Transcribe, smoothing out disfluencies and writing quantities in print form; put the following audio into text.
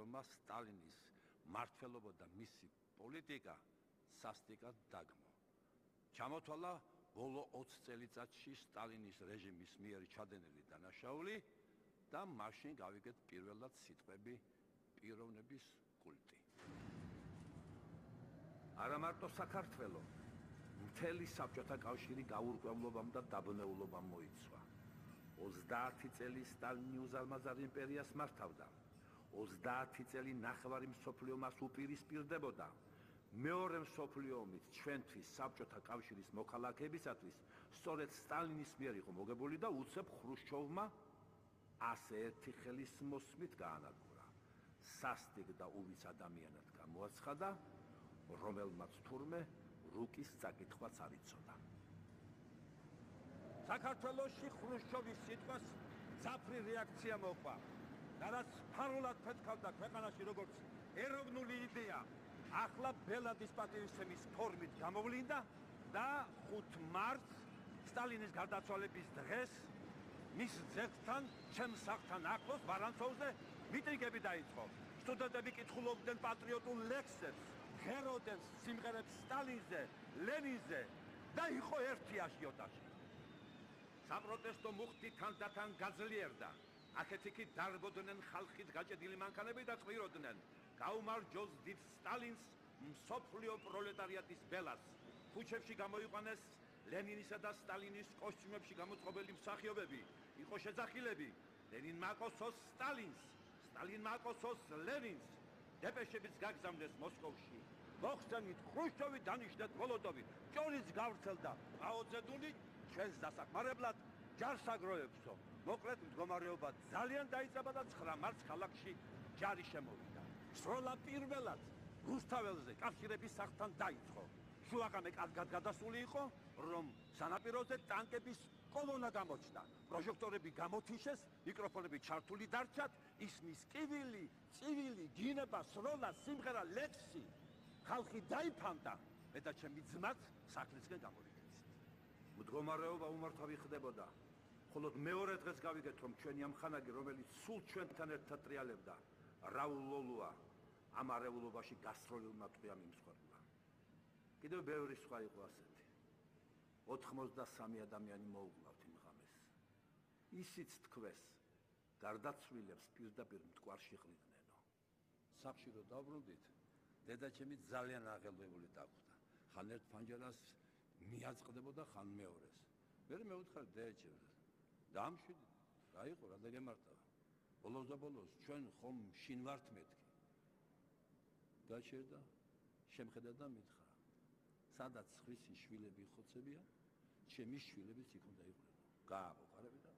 რომა სტალინის მმართველობა და მისი პოლიტიკა სასტიკად დაგმო. ჩამოთვალა ბოლო 20 წელიწადში სტალინის რეჟიმის მიერ ჩადენილი დანაშაული და მაშინ გავიგეთ პირველად სიტყვები პიროვნების კულტი. არა მარტო საქართველოს, მთელი საბჭოთა კავშირი გაურკვევლობამ და დაბნეულობამ მოიცვა. 30 წელი სტალინი უზარმაზარ იმპერიას მართავდა. 30 წელი ნახევარი მსოფლიო მას უპირისპირდებოდა. მეორე მსოფლიო ომით ჩვენთვის საბჭოთა კავშირის მოქალაქეებისათვის სწორედ სტალინის მიერ იყო მოგებული და უცებ ხრუშჩოვმა ასე ერთი ხელის მოსმით გაანადგურა. სასტიკ და უვიც ადამიანად გამოაცხადა, რომელმაც თურმე რუკის წაკითხვაც არ იცოდა. საქართველოში ხრუშჩოვის სიტყვას ძაფრი რეაქცია მოყვა და რაც ფარულად ფეთქავდა ქვეყანაში როგორც ეროვნული იდეა, ახლა ბელადის პატივისცემის ფორმით გამოვლინდა და 5 მარტს სტალინის გარდაცვალების დღეს მის ძეგლთან, ჩემს სახლთან ახლოს ვარანცოვზე მიტინგები დაიწყო. სტუდენტები კითხულობდნენ პატრიოტულ ლექსებს, ღეროდნენ სიმღერებს სტალინზე, ლენინზე და იყო ერთი აშიოტაჟი. საპროტესტო მუხტი თანდათან გაძლიერდა. აქეთ-იქით დარბოდნენ ხალხით გაჭედილი მანქანები და წვიროდნენ. გაუმარჯოს დიდ სტალინს, მსოფლიო პროლეტარიატის ბელას. ქუჩებში გამოიყვანეს ლენინისა და სტალინის კოსტიუმებში გამოწყობილი მსახიობები. იყო შეძახილები ლენინ მაკოსოს სტალინს, სტალინ მაკოსოს ლენინს. დეპეშებიც გაგზავნეს მოსკოვში. მოხსენით ხრუშჩოვი, დანიშნეთ მოლოტოვი. ჭორიც გავრცელდა. მაოძედუნი ჩვენს დასახმარებლად ჯარს აგროვებსო. მოკლედ მდგომარეობა ძალიან დაიწყება და 9 მარტს ქალაქში ჯარი შემოვიდა. სროლა პირველად რუსთაველზე კავშირების სახლთან დაიწყო. შუაღამე კარგად გადასული იყო, რომ სანაპიროზე ტანკების კოლონა გამოჩნდა. პროჟექტორები გამოთიშეს, მიკროფონები ჩართული დარჩათ, ისმის კივილი, წივილი, გინება, სროლა, სიმღერა, ლექსი. ხალხი დაიფანტა, მე და ჩემი ძმაც სახლისკენ გამოვიქცით. მდგომარეობა უმართავი ხდებოდა. ხოლო მეორე დღეს გავიგეთ, რომ ჩვენი ამხანაგი, რომელიც სულ ჩვენთან ერთად ტრიალებდა, რაულ ლოლუა, ამ არეულობაში გასროლილმა ტყვიამ იმსხვერპლა. კიდევ ბევრი სხვა იყო ასეთი. 93 ადამიანი მოუკლავთ იმ ღამეს. ისიც თქვეს, გარდაცვლილებს პირდაპირ მტკვარში ყრიდნენ. სახლში რო დავბრუნდით, დედაჩემი ძალიან აღელვებული დაგვხდა. ხან ერთ ფანჯარას მიაწყდებოდა, ხან მეორეს. მე მეუთხარ დედაჩემს, დამშვიდით, რა იყო, რა დაგემართავა. ბოლოს და ბოლოს ჩვენ ხომ შინ ვართ მეთქი. გაჩერდა, შემხედა და მითხრა, სადაც ხვისი შვილები ხოცებია, ჩემი შვილებიც იქ უნდა იყვნენ. გააბოყარები და